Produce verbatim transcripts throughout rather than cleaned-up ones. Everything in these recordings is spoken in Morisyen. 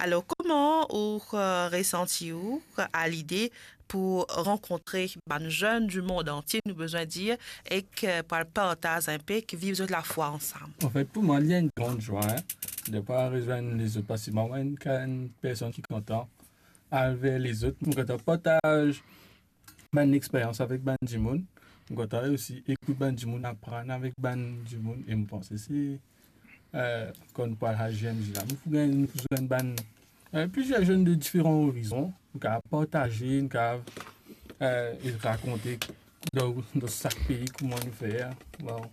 Alor, kouma ou, eh, resanti ou, eh, a lide pou rankontre bann zenn di mond antie, nou bizin dir, ek, eh, pou al partaz enn pe, ek viv zot lafwa ansam? Anfet, pou mwa, li enn gran zwa, hein, de pa rezenn lezot, parski mwa, enn, enn personn ki kontan al ver lezot, mo kontan partaz bann experyans avek bann dimoun. Mo kontan osi ekout bann dimoun, aprann avek bann dimoun, e mo panse se, eh, kan nou pral al G M J la, nou pou gagn, nou pou zwenn bann, eh, plizier zenn de diferan orizon. Nou kapav partaze, nou kapav, eh, rakonte dan, dan sak pei kouma nou fer. Bon,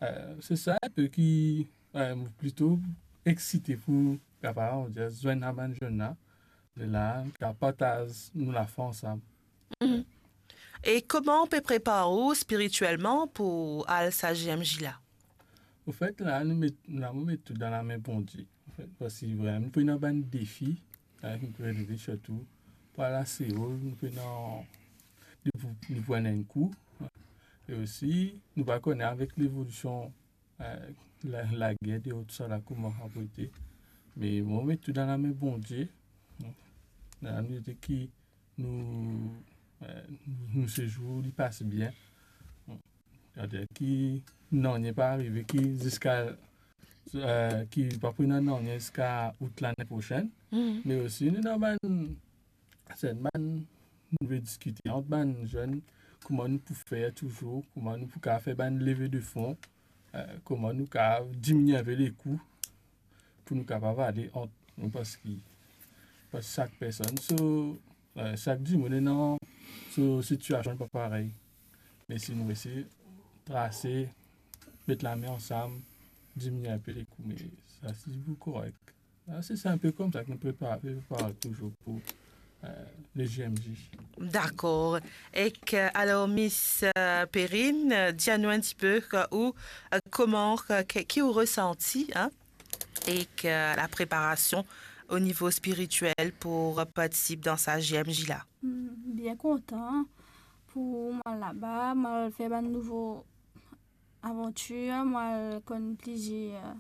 eh, se sa enn pe ki, eh, mo plito eksite pou kapav, on dir, zwenn a bann zenn la. De la, kapav partaz nou lafwa ansam. Mhm. E kouma ou pe prepar ou spiritielman pou al sa G M J la? Anfet, la, nou met, la, mo met tou dan lame Bondie. Anfet, parski vremem, nou pena bann defi, eh, ki nou pe relev sirtou. Pou al a Seol, nou pena, nou pou, nou pou enn kou. E osi, nou pa kone avek levolision eh, la, lager deor, tousala, kouma sa pou ete. Me mo met tou dan lame Bondie. Dan lame Bondie ki nou, eh, nou sezour li pas bien. Setadir ki nanye pa arive ki ziska, eh, ki pa pou ena nanye ziska out lane prosenn. Mhm. Me osi nou ena bann, se bann, nou pe diskite ant bann zenn, kouma nou pou fer touzour, kouma nou pou kapav fer bann leve de fon, eh, kouma nou kapav diminie enpe lekou pou nou kapav ale ant nou, parski, parski sak personn, so, eh, sak dimoun ena so sitiasion pa parey. Me si nou resi trase, met lame ansam, diminie enpe lekou, me sa se pou korek. Ah, se, se enn pe koumsa ki nou prepar, prepar touzour pou, eh, le G M J. Dakor. Ek, eh, alor, Miss, eh, Perrine, eh, dir nou enn tipe, eh, ou, eh, kouma, eh, ki, ki ou resanti, hein, ek, eh, lapreparasion o nivo spiritiel pou, eh, partisip dan sa G M J la? Hmm, bien kontan pou mo al laba, mo al fer bann nouvo avantir, mo al konn plizier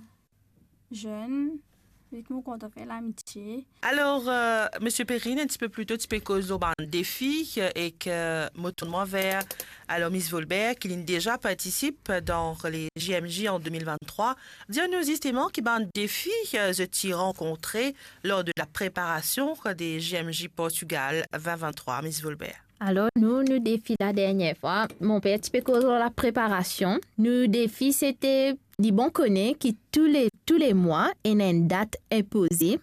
zenn, ek mo kontan fer lamitie. Alor, eh, Miss Perrine, enn tipe pli to, ti pe koz lor bann defi, eh, ek, eh, mo tourn mwa ver, alor, Miss Volbert, ki linn deza partisip dan le G M J an de mil venntrwa. Dir nou zisteman ki bann defi, eh, zot ti rankontre lor de lapreparasion de G M J Portugal vin venntrwa, Miss Volbert. Alor, nou, nou defi ladernie fwa, mo pe enn tipe koz lor lapreparasion. Nou defi, sete, li bon kone ki tou le, tou le mwa, ena enn dat inpoze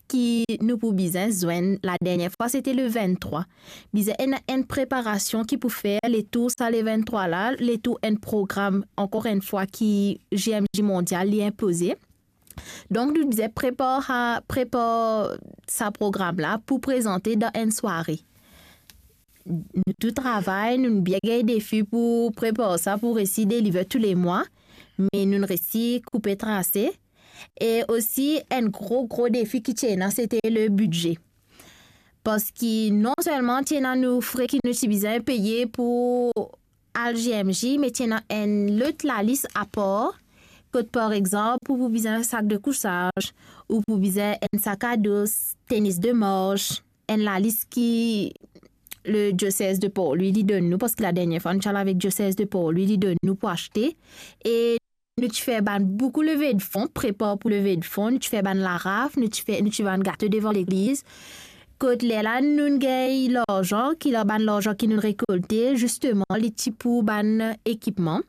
ki nou pou bizin zwenn. Ladernie fwa, sete le venntrwa. Bizin ena enn preparasion ki pou fer letour sa le venntrwa la, letour enn program, ankor enn fwa, ki G M J Mondial li inpoze. Donk, nou bizin prepar, prepar sa program la pou prezante dan enn sware. Nou tou travay, nou bien gagn defi pou prepar sa, pou resi deliver tou le mwa, me nou resi koupe trase. E osi, enn gro, gro defi ki ti ena, sete le bidze. Parski non selman ti ena nou fre ki nou ti bizin peye pou al G M J, me ti ena enn lot lalis apar, kot, par exanp, ou pou bizin sak de kousaz, ou pou bizin enn sakado, tenis de mars, enn lalis ki le diosez de Port Louis li donn nou, parski ladernie fwa nou ti al avek diosez de Port Louis, li donn nou pou aste. E nou ti fer bann boukou leve de fon, prepar pou leve de fon, nou ti fer bann laraf, nou ti fer, nou ti fer bann gato devan legliz. Kot lerla nou gagn larzan, ki la bann larzan ki nou rekolte, zisteman, li ti pou bann ekipman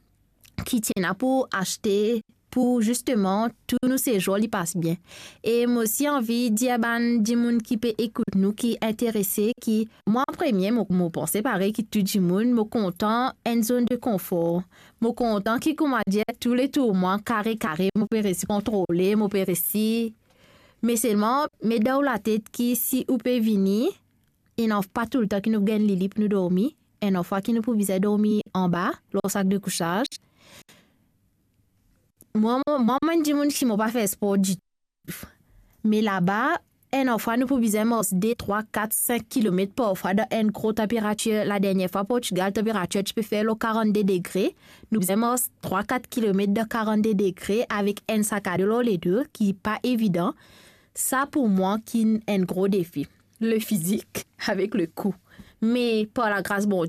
ki ti ena pou aste pou zisteman tou nou sezour li pas bien. E mo osi anvi dir bann dimoun ki pe ekout nou, ki interese, ki mwa premie, mo, mo panse parey ki tou dimoun, mo kontan enn zonn de konfor. Mo kontan ki, kouma dir, tou le tour mwa, kare kare, mo pe resi kontrole, mo pe resi. Me selman, met dan ou latet ki si ou pe vini, ena pa toultan ki nou gagn lili pou nou dormi, ena fwa ki nou pou bizin dormi anba, lor sak de kousaz. Mwa, mwa, mwa, mo enn dimoun ki mo pa fer spor ditou. Me laba, ena fwa nou pou bizin mars de, trwa, kat, sink kilomet, parfwa dan enn gro tanperatir. Ladernie fwa Portugal, tanperatir ti pe fer lor karannde degre. Nou bizin mars trwa, kat kilomet dan karannde degre avek enn sakado lor ledo, ki pa evidan. Sa pou mwa ki'nn enn gro defi, le fizik avek le kou. Me par lagras Bondie,